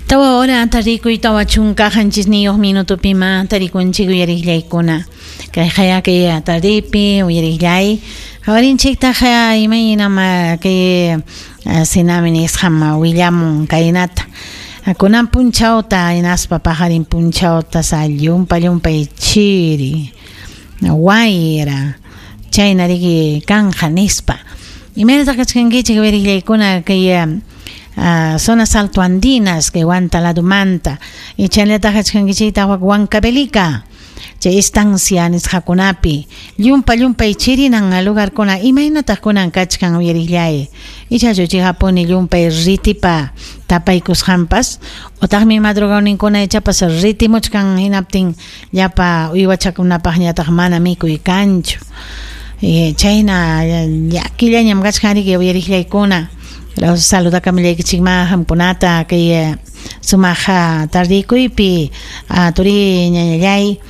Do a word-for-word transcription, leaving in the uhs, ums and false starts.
Tawa hora tarikuy tawa chunka qanchisniyuq minutupima tarikunchik uyariqllaykuna. Kay haya kay tardipi uyariqllay. Qawarinchiktaq imaynam kay SENAMHI nisqam willamun kaynata. Kunan punchawta hinaspa paqarin punchawta sa llumpa llumpay chiri wayra chayna riki kanja nispa. Imaynataq kachkankichik uyariqllaykuna kay Uh, zonas altoandinas kay Huanta ladumanta y chaynallataq kachkankichiktaq wak Huancavelica chay estancia nisqakunapi llumpa llumpay chirinan lugarkuna imaynataq kunan kachkan uyariqllay ichachu chikapuni llumpay ritipa tapaykusqanpas utaqmi madrugawninkuna ichapas ritimuchkan hinaptin llapa uywachakunapaqñataq mana mikuy kanchu y chayna llakillañam kachkan riki uyariqllaykuna. Saludakamillaykichikma hamkunata kay sumaq tardikuypi turi ñañallay